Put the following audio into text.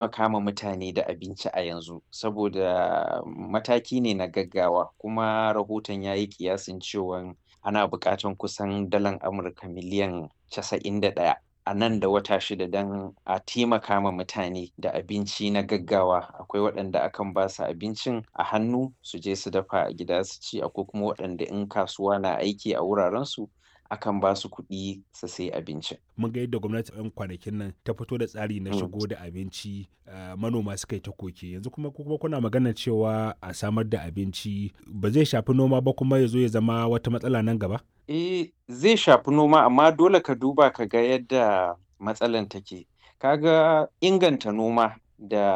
Taimaka ma mutane da abinci a yanzu saboda mataki ne na gaggawa, kuma rahoton ya yi ƙiyasin cewan ana buƙatan kusan dalan Amurka miliyan 91 a nan da wata 6 don a taimaka ma mutane da abinci na gaggawa. Akwai waɗanda akan ba su abincin a hannu su je su dafa a gida su ci, akwai kuma waɗanda in kasuwa na aiki a wurarensu akan ba su kuɗi su sayi abincin. Mun ga yadda gwamnati 'yan kwanakin nan ta fito da tsari na shigo da abinci, manoma suka yi ta koke. Yanzu kuma kuna maganar cewa a samar da abinci ba zai shafi noma ba kuma ya zo ya zama wata matsala nan gaba? Eh, zai shafi noma, amma dole ka duba ka ga yadda matsalan take. Ka ga inganta noma da